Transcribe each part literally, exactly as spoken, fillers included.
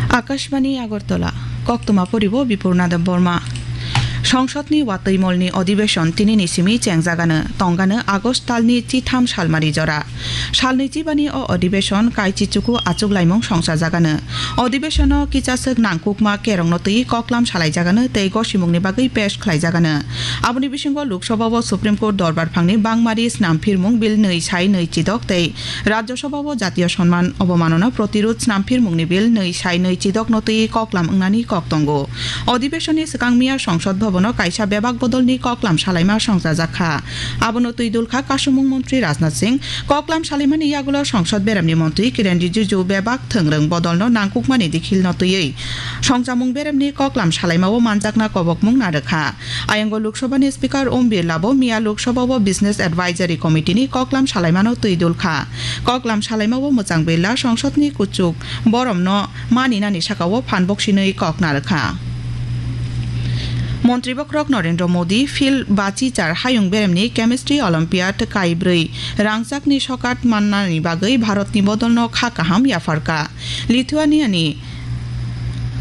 Akashbani Agartala, koktwma poribo Bipurna Debbarma. Songsodni watwi molni odibeshon tinini simi chengjagano, tongano August talni chitham salmari jora. Salni chibani o odibeshon kaichi chuku achuk laimung songsajagano. Odibeshono kichaswk nangkukma kerongno twi koklam salaijagano tei gosimungni bagwi pesh khlaijagano. Aboni bisingo Lok Sabha o Supreme Court dorbar phangni bangmari snamphirmung bill nwi sai nwi chidok tei Rajya Sabha o Jatiyo Sonman Obomanona Protirud Snamphirmungni Bill nwi sai nwi chidokno twi koklam wngnani kok tongo. Odibeshonni swkang miya Songsod Bhabono kaisa bebak bodolni koklam salaima songchajak kha. Abono twi dul kha Kasumung Montri Rajnath Singh. Koklam salaimani yagulo Songsod Beremni Montri Kiren Rijiju bebak thwngrwng bodolno nangkukmani dikhilno twiwi songchamung beremni koklam salaimao manjakna kobokmung narwkha. Ayang o Lok Sabha ni Speaker Om Birla bo miya Lok Sabha o Business Advisory Committee ni koklam salaimano twi dul kha. Koklam salaima o mwchang Birla Songsod ni kuchuk boromno mani nani saka o phan boksinwi kok narwkha. Montri bokhorok Narendra Modi Phil Bachichar hayung beremni Chemistry Olympiad kaibrwi rangchakni sokat mannani bagwi Bharatni bodolno kha kaham yapharkha. Lithuania ni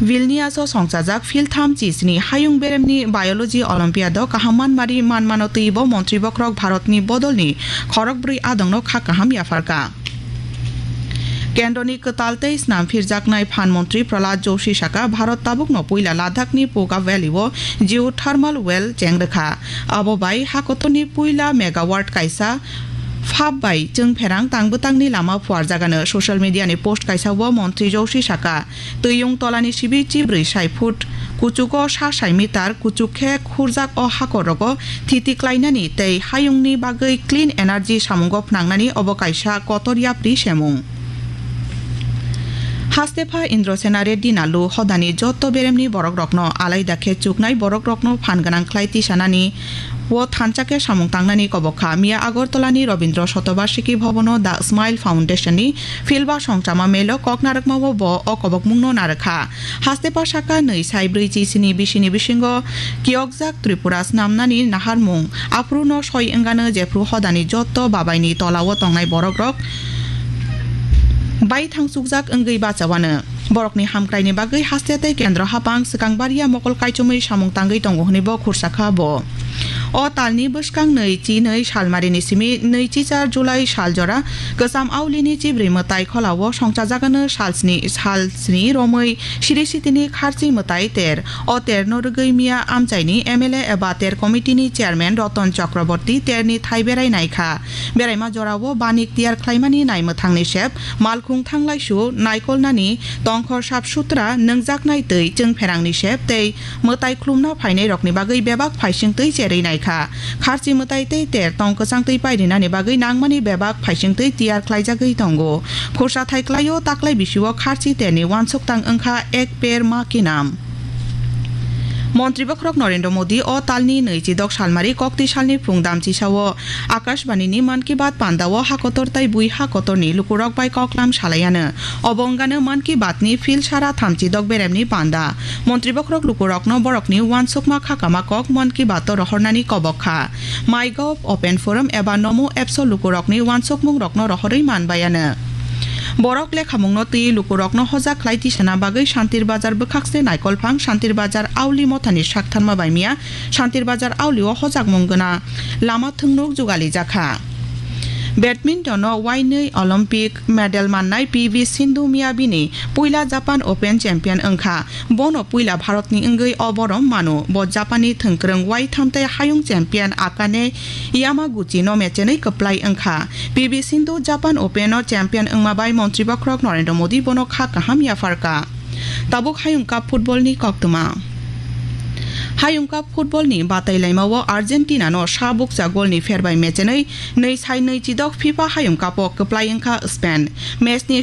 Vilnius o songchajak philtham chisni hayung beremni Biology Olympiad o kaham manmari manmano twibo montri bokhorok Bharatni bodolni khorokbrwi adongno kha kaham yapharkha. Kendroni kwtal tei snam phirjaknai phan montri Prahlad Joshi saka, Bharat tabukno puila Ladakhni Puga Valley o geothermal well chengrwkha. Abo bai hakotorni puila megawatt kaisa phap bai chwngpherang tangbwtangni lama phuarjagano. Social media ni post kaisa o montri Joshi saka, Twiyung tolani sibi chibrwi sai phut, kuchugo sa sai meter, kuchuk khe khurjak o hakorogo thiti klainani tei hayungni bagwi clean energy samungo phnangnani obo kaisa kotor yapri semung. Hastepha Indrasena Reddy Nallu hodani jotto beremni borokrokno alaida khe chuknai borokrokno phan gwnang khlai tisanani o thansa khe samung tangnani kobok kha. Miya Agartala ni Rabindra Shatobarshiki Bhavan o The Smile Foundation ni Philba songchama melo kok narwkmao bo o kobokmungno narwkha. Hastepha saka nwi sai brwi chisini bisini bisingo kiyokjak Tripura snamnani naharmung aphuru no soi wngano, jephru hodani jotto babaini tolao tongnai borokrok bai thangsukjak wngwi bachawano. Borokni hamkraini bagwi haste tei kendro hapang swkang baria mokol kaichomwi samung tangwi tongo hwnwi bo khursa kha bo. O talni bwskang nwi chi nwi salmarini simi nwi chi char July sal jora kwcham aulini chibrwi mwtai kholao songchajagano salsni, salsni romwi siri sitini kharchi mwtai ter. O terno rwgwi miya amchaini M L A eba ter committee ni chairman Ratan Chakraborty terni thai berai naikha. Beraima jorao banik tiyar khlaimani naimwthangni sep, malkhung thanglaisu, naikolnani tongkhor sap sutra, nwngjaknai twi chwngpherangni sep tei mwtai khlumna phainairokni bagwi bebak phaisingtwi cherwi naikha. Kharchi mwtai tei ter tong kwchangtwi pairinani bagwi nangmani bebak phaisingtwi tiyar khlaijagwi tongo. Khursa thai klaio taklai bisio kharchi terni uansuk tang wngkha Ek Ped Maa Ke Naam. Montri bokhorok Narendra Modi o talni nwi chidok salmari kokti salni phung damchisao Akashbani ni Mann Ki Baat panda o hakotor tai bui hakotor ni lukurok bai koklam salaiano. Obo wngano Mann Ki Baat ni phil sara thamchi dok beremni panda. Montri bokhorok lukurokno borokni uansukma khakama kok Mann Ki Baat o rohornani kobok kha. MyGov Open Forum eba Namo Apps o lukurokni uansukmungrokno rohorwi manbaiano. Borok lekhamungno twi lukurokno hojak khlai tisana bagwi Shantir Bazar bwkhakse Naikolphang Shantir Bazar Auli Mothani saktharma bai miya Shantir Bazar Auli o hojakmung gwnang lama thwngnuk jugali jakha. Badminton o wainwi Olympic medal mannai P V Sindhu miya bini puila Japan Open champion wngkha. Bono puila Bharatni wngwi o borom mano. Bo Japanni thwngkwrwng waitham tei hayung champion Akane Yamaguchi no mechenwi kwplai wngkha. P V Sindhu Japan Open o champion wngma bai Montri Bokhorok Narendra Modi bono kha kaham yapharkha. Tabuk Hayung Cup football ni koktwma. Hayung Cup football ni batai laima o Argentina no sa bukcha gol ni pher bai mechenwi nwi sai nwi chidok FIFA Hayung Cup o kwplai wngkha Spain. Match ni